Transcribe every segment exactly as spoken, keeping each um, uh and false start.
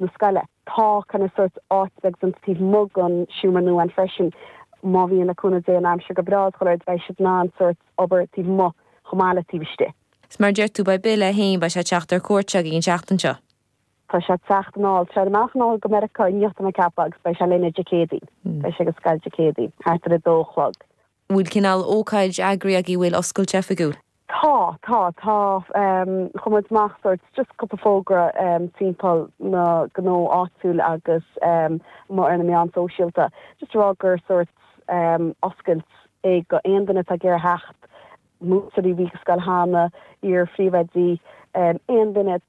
na scoile. Tá kind of sort áit beag san taobh amuigh den seomra nua ann freisin má bhíonn le cúnamh Dé an aimsir go breá chuile rud beidh siad in ann sort obair taobh amuigh chomh maith le taobh istigh. Is mar deir tú beidh Bill é féin beidh sé ag teacht ar cuairt againn an tseachtain seo. Tá sé ag teacht anall sé amach anall go Meiriceá inniu tá mé ag ceapadh agus beidh sé linn Dé Céadaoin. Beidh sé ag scoil Dé Céadaoin thart ar a dó a chlog. Bhfuil cineál ócáid eagraithe agaibh bhfuil oscailt oifigiúil? Tá tá tá um, chuir muid amach sort just cúpla fógra um, timpeall na gnó áitiúil agus um, ar na meáin sóisialta. Just rá gur sort um, oscailt é go aon duine atá ag iarraidh theacht múinteoirí a bhí sa scoil cheana iar-phríomhoidí um, aon duine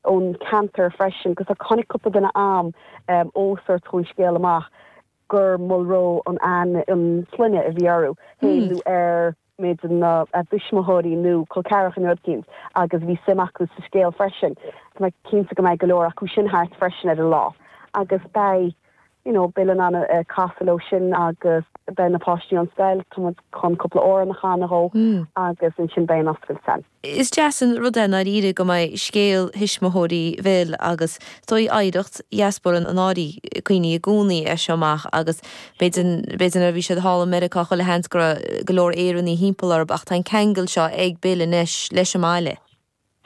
ón ceantar freisin, 'cause tháinig cúpla duine am um, ó sort chuaigh an scéal amach gur Mulroe an an an sloinne a bhí orthu mm. ar méid na a dtuismitheoirí nó col ceathracha nó rud éicint agus bhí suim acu sa scéal freisin. Tá mé cinnte go mbeidh go leor acu sin thart freisin ar an lá. agus beidh you know, Bill in ann uh, casadh leo sin agus beidh na páistí an scoil chun cúpla amhrán a chanadh mm. agus ansin beidh an oscailt ann. Is deas an rud é dáiríre go mbeidh scéal thuismitheoirí Bhill agus toí oidhreacht diaspóra an áirí cuioine i gcónaí é seo amach agus b'fhéidir a bhí siad thall i Meiriceá chuile sheans go go leor Éireannaigh thimpeall orthu ach tá an ceangal seo ag Bill anois leis an mbaile.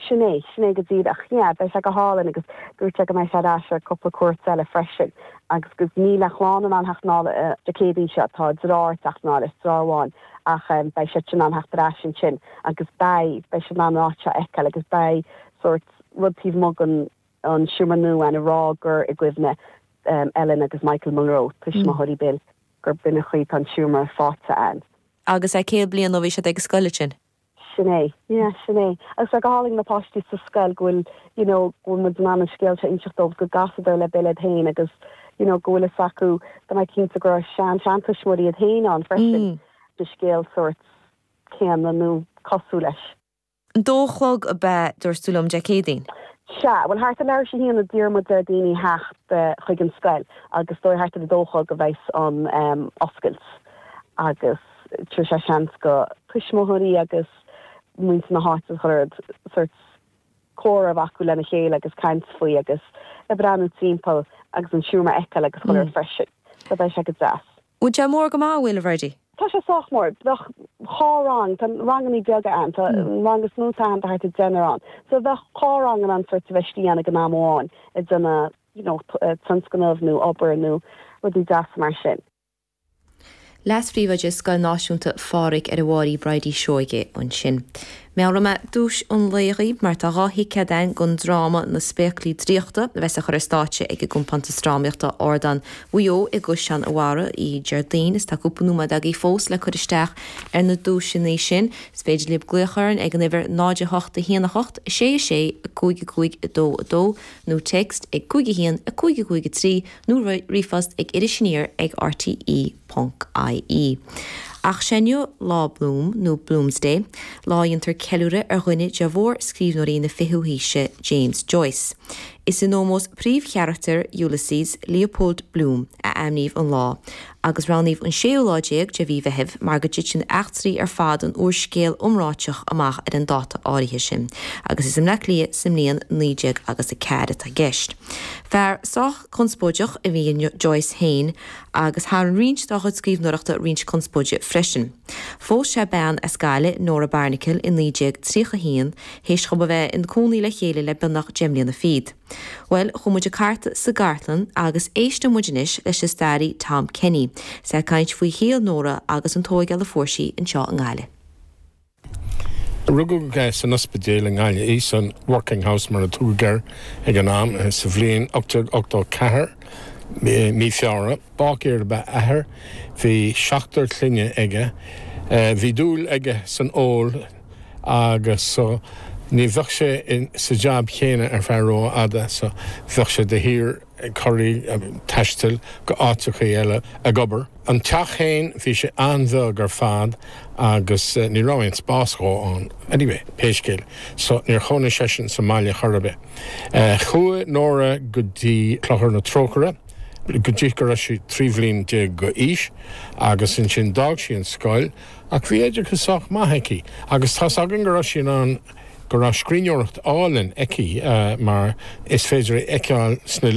Sin é sin é go díreach yeah, beidh sé go hálainn agus dúirt sé go mbeidh sé ar ais ar cúpla cuairt eile freisin agus gus níl a chlann in ann theacht anall Dé Céadaoin seo tá deartháir ag teacht anall is deartháir amháin ach um, beidh sé in ann theacht ar ais ansin agus beidh beidh sé in ann áit a fheiceáil agus beidh sort rud taobh amuigh den an seomra nua ann a rá gur i gcuimhne um, Ellen agus Michael Mulroe tuismitheoirí Bill gur b'in an chaoi tá an seomra faighte ann. Agus é céad bliain ó bhí siad ag scoil sin. Sin é yeah, sin é agus go hálainn na páistí sa scoil go bhfuil you know, go bhfuil muid an scéal a inseacht dóibh go gcasadar le Bill féin agus you know, go bhfuil fhios acu tá mé cinnte go sean seantuismitheoirí iad féin ann freisin mm. de scéal sort céanna nó cosúil leis. An dó chlog ab ea dúirt tú liom Dé Céadaoin. Sea, well thart ar leathuair tar éis a haon a d'iarr muid ar daoine theacht uh, chuig an scoil agus dóigh thart ar a dó chlog a bheas an um, oscailt agus tú sé seans go tuismitheoirí agus muintir na háite chuile sort comhrá acu lena chéile agus caint faoi agus ag breathnú timpeall agus an seomra a fheiceáil agus chuile rud freisin, so beidh sé go deas. Bhfuil sé mór go maith bhfuil a Bhridie? Tá sé sách mór bheadh dhá rang Tá ranganna beaga ann tá rang is mó tá thart ar deichniúr ann. So bheadh dhá rang an sort a bheith ann ag an am amháin ag déanamh you know, tionscnamh nó obair nó rudaí deas mar sin. Leas-phríomhoide Scoil Náisiúnta Phádraig ar an bhFairche Bridie Seoige ansin. Meabhróidh mé duais an lae dhaoibh mar tá dhá thicéad ann don dráma na Spéaclaí Draíochta a bheas á chur ar stáitse ag an gcompántas drámaíochta Ardán Mhaigh Eo i gCaisleán an Bharraigh Déardaoin is tá cúpla nóiméad agaibh fós le cur isteach ar na duaiseanna sin. Is féidir libh glaoch orainn ag an uimhir náid a hocht a haon a hocht sé sé cúig cúig a dó a dó nó text ag cúig a haon a cúig cúig a trí nó ríomhphost ag irisaniar ag RTE.ie. Ach is é inniu lá Bloom nó Bloomsday, lá a ndéantar ceiliúradh ar dhuine de mhórscríbhneoirí na fichiú haoise James Joyce. Is in ómós príomhcharachtar Ulysses Leopold Bloom a ainmníodh an lá, agus roghnaíodh an séú lá déag de mhí Mheithimh mar go dtiteann eachtraí ar fad an úrscéil iomráitigh amach ar an dáta áirithe sin, agus is i mBleá Cliath sa mbliain naoi déag agus a ceathair atá i gceist. Fear sách conspóideach a bhí in Joyce féin agus tharraing roinnt dá chuid scríbhneoireachta roinnt conspóide freisin. Phós sé bean as Gaillimh Nora Barnacle in naoi déag tríocha haon, théis dóibh a bheith ina gcónaí le chéile le beagnach deich mbliana fichead. Well chuaigh muid ag cartadh sa gcartlann agus éisteann muid anois leis an staraí Tom Kenny, is é ag caint faoi shaol Nora agus an tógáil a fuair sí anseo i nGaillimh. Rugadh san ospidéal i nGaillimh í san Working House mar a tugadh air ag an am sa bhliain ocht déag ochtó ceathair mí Feabhra. Báicéir ab ea a athair, bhí seachtar clainne aige, bhí dúil aige san ól agus so ní bheadh sé sa jab chéanna ar feadh rófhada so bheadh sé de shíor ag corraí taisteal go áiteacha eile ag obair. An teach féin bhí sé an-bheag ar fad agus ní raibh aon spás dhó ann. Anyway, pé scéal, so níor chónaigh seisean sa mbaile chor ar bith. Chuaigh Nora go dtí Clochar na Trócaire, go dtí go raibh sí trí bhliain déag d'aois agus ansin d'fhág sí an scoil ach bhí oideachas sách maith aici agus tá againn go raibh sí an go raibh scríbhneoireacht álainn aici uh, mar is féidir é a fheiceáil sna